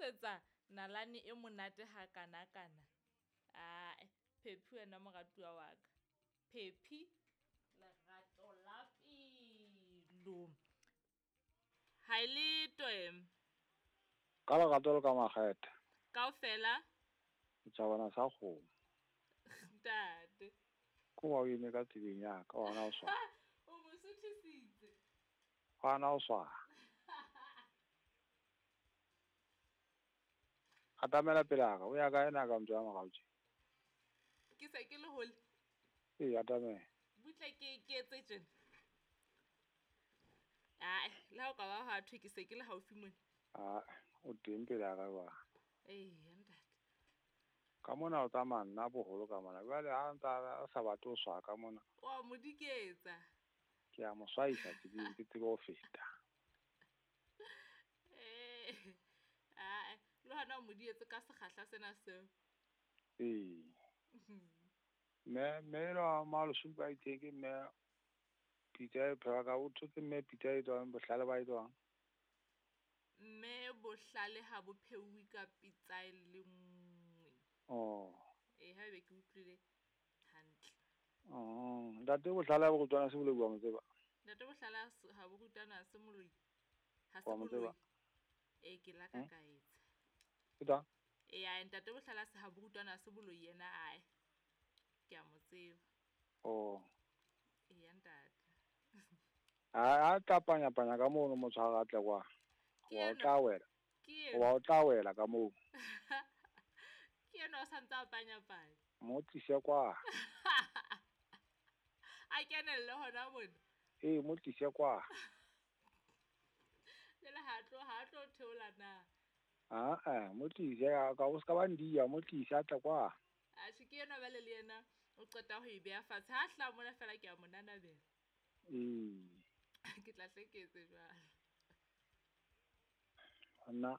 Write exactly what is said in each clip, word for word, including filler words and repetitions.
hlalosetsa nalane e monate ha kana kana. Ae, Phephi wena moratuwa wa ka. Phephi lerato la pelo. Ha e le twe. Ka lerato le ka makgethe. Kaofela setjhabana sa kgomo. Ntate. Ko wa o eme ka tseleng ya ka wa na o swa. O mo suthisitse. Wa na o swa. Atamela pele ka o ya ka ena ka motho ya morao tje. Ke se ke le hole. Ee, atamela. Butle ke ke etse tjena. Ai, le ha o ka ba ha thwe ke se ke le haufi mona. Ah, o teng pele ka wa. Ee, ntate. Ka mona o tsamaya nna boholo ka mona. Jwale ha ntsa a sa batle ho swa ka mona. Wa mo diketsa. Ke a mo swaisa tseleng ke tsebe ho feta. Eh. Ai, le hona o mo dietse ka sekgahla sena seo. Ee. Mme mme la malosupa itheke mme pitsa e phehwa ka o thotse mme pitsa e tswang bohlale ba e tswang. Mme bohlale ha bo pheuwe ka pitsa e le nngwe. Oh. Eh, haebe ke utlwile hantle. Oh, ntate bohlale ha bo rutwana se boloi wa mo tseba. Ntate bohlale ha bo rutwana se moloi. Ha se Wa mo tseba. boloi. Eh, ke la ka Hmm? ka etsa. Ke tang? Eh, ai ntate bohlale se ha bo rutwana se boloi yena ai. Ke a mo tseba. Oh. Eh, ntate. A a tla panya panya ka mono motho ha a tle kwa. Ke Wa o enwa. tla wela. Ke Wa o tla wela ka moo. Ke enwa o santse a panya panya. Mo tlise kwa. A kenelle hona mona. Ee, mo tlise kwa. Jwale ha tlo ha tlo theola na. Ah ah, mo tlise ka o ska ba ndia, mo tlise a tle kwa. Atjhe ke enwa bale le yena o qeta ho e beha fatshe. Ha hla mona fela ke a mo nanabela. Ee. Ke tla hle ke etse jwalo. Nna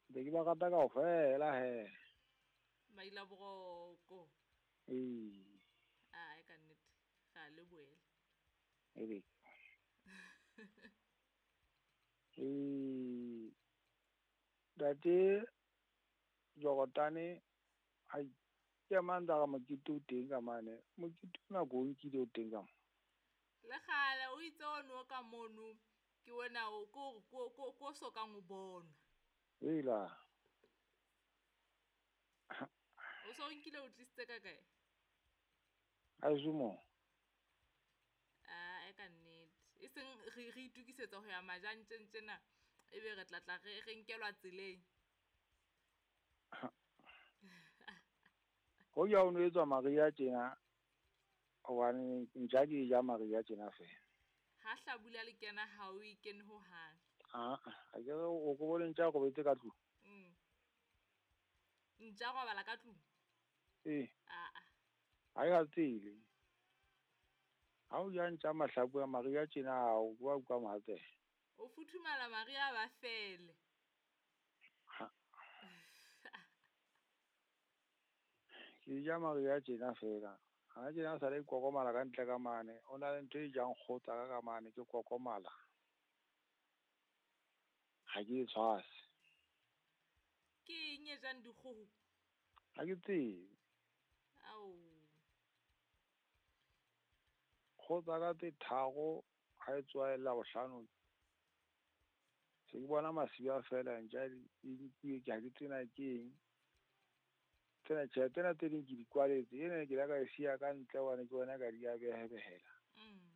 be ke ba rata kaofela he. Maila boroko. Ee. Ai ka nnete. Ga le boele. Ebe. Ee. Ntate Jorotane ai ke mang tsa mokete o teng ka mane. Mokete ona ko o nkile o teng ka mo. Le kgale o itse ono ka mono ke wena o ko ko ko ko so kang o bona. Hela. O so nkile o tlisitse ka kae? Azumo. Ah, e ka nnete. E seng re re itukisetsa ho ya majantjeng tjena ebe re tla tla re re nkelwa tseleng. Ho ya o no etswa Maria tjena hobane ntja ke ja Maria tjena fela. Ha hlabula le kena ha o ikene ho hang. Ah, a ke re o ko bone ntja robetse ka tlung. Mm. Ntja robala ka tlung? Ee. Ah ah. Ha e ka tsele. Ha o ja ntja mahlaku a Maria tjena ha o bua ka mohatsela. O futhumala Maria ba fele. Ha. Ke ja Maria tjena fela. Ha tjena sa le kokomala ka ntle ka mane. O na le ntho e jang kgotsa ka ka mane ke kokomala. Ha ke e tshwase. Ke eng e jang dikgoho? Ha ke tsebe. Ao. Kgotsa ka tse tharo ha e tswa e la bohlano. Se ke bona masiba fela ntja di nkiwe ke ha ke tsena ke eng. Tsena tjhe tsena tse ding ke di kwaletse. Ena ke la ka e siya ka ntle hobane ke bona ka di a behebehela. Mm.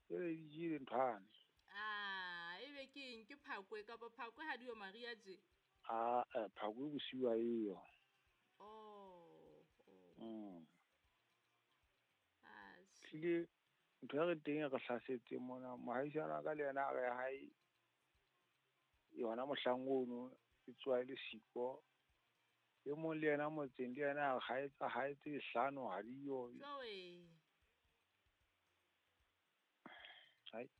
Ebe di jele nthwane. Ah, ebe ke eng ke phakwe kapa phakwe ha di yo Maria tje? Ah, eh, phakwe bosiu ha eyo. Oh, oh. Mm. Ah, Tlile ntho e re teng e re hlasetse mona. Mohaisane wa ka le yena a re hae yona mohlang ono e tswa e le siko. E mong le yena motseng le yena a re ha e tsa ha e tse hlano ha di yo. Joe. Hai.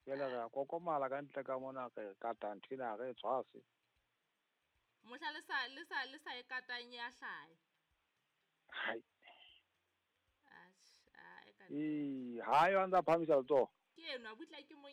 Jwale re a kokomala ka ntle ka mona re kata ntho ena ha re e tshwase. Mohla le sa le sa le sa e katang ya hlaya. Hai. Atjhe, a e ka Ee, ha yo a ntsa phahamisa letsoho. Ke enwa butla ke mo